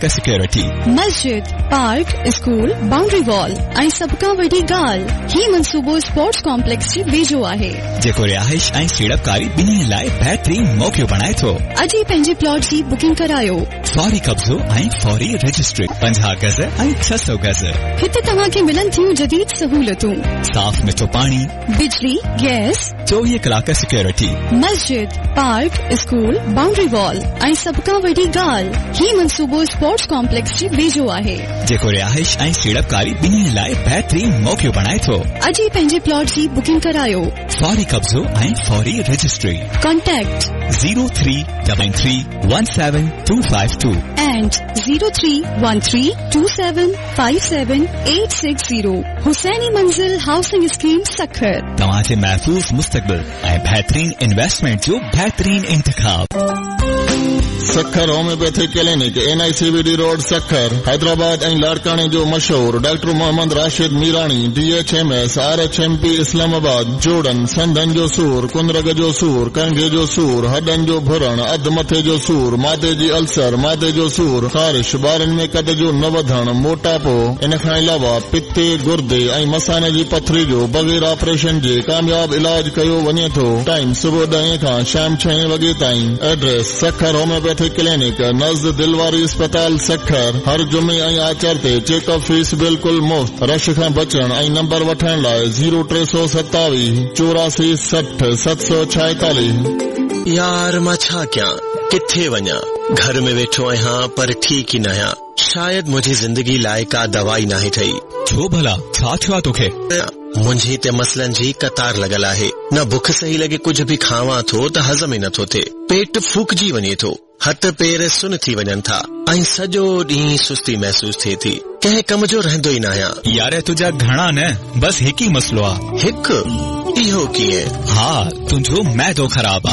Security. مسجد، park, school, boundary wall ۽ سڀ کان وڏي ڳالهه هي منصوبو اسپورٽس ڪامپليڪس جي ويجهو آهي. جيڪو رهائش ۽ سيڙپڪاري ٻنهي لاء بهترين موقعو بڻائي ٿو. اڄ ئي پنهنجي پلاٽ جي بڪنگ ڪرايو. فوري قبضو ۽ فوري رجسٽري. 50 گز ۽ 600 گز. هتي توهان کي ملن ٿيون جديد سهولتون. صاف مٺو پاڻي. بجلي، گئس. 24 ڪلاڪ سيڪيورٽي. مسجد، پارڪ، اسڪول، بائونڊري وال ۽ سڀ کان وڏي ڳالهه هي منصوبو اسپورٽس ڪامپليڪس جي ويجهو آهي. جيڪو رهائش ۽ سيڙپڪاري ٻنهي لاء بهترين موقعو بڻائي ٿو. اڄ ئي پنهنجي پلاٽ جي بڪنگ ڪرايو. فوري قبضو ۽ فوري registry. Contact. 0393 17252. And 0313 2757860 Hussaini Manzil housing scheme Sukkur. توهان جي محفوظ مستقبل ۽ بهترين انويسٽمينٽ جو بهترين انتخاب. Sukkur homeopathic clinic N I C V D road Sukkur Hyderabad ۽ لاڙڪاڻي جو مشهور doctor Muhammad Rashid Mirani D H M S R H M P Islamabad جوڙن سنڌن جو سور ڪنرگ جو سور ڪنگهي جو سور هڏن جو ڀرڻ اڌ مٿي جو سور معدي جي السر معدي جو سور خارش ٻارن ۾ قد جو نه وڌڻ موٽاپو ان کان علاوه پتي گردي ۽ مثاني جي پٿري جو بغير آپريشن جي ڪامياب علاج ڪيو وڃي ٿو. ٽائيم صبح ڏهين کان شام ڇهين وڳي تائين. ايڊريس، سکر هوميوپيٿڪ ڪلينڪ، نزد دل واري اسپتال سکر، هر جمعي ۽ آچر تي چيڪ اپ فيس بلڪل مفت. رش کان بچڻ ۽ نمبر وٺڻ لاء زيرو 327 84 60 746. يار مان ڇا ڪيان، ڪٿي وڃان، گهر ۾ ويٺو آهيان پر ٺيڪ ئي ناهيان، شايد منهنجي زندگي لاء ڪا دوا ئي ناهي ٺهي. ڇو ڀلا، ڇا ٿيو آ توکي؟ منهنجي ته مسئلن جي قطار لڳل آهي. نه بک صحيح لڳي ڪجهه به کاوان ٿو ته هضم ئي نٿو ٿئي. پيٽ ڦوڪجي وڃي ٿو. هٿ پير سن ٿي وڃن ٿا ۽ سڄو ڏينهن سستي محسوس ٿئي ٿي. ڪنهن ڪم جو رهندو ئي ناهيان. يار تنهنجا گهڻا نه بس هڪ ئي مسئلو آ. هڪ؟ اهو ڪيئن؟ ها تنهنجو معدو خراب آ.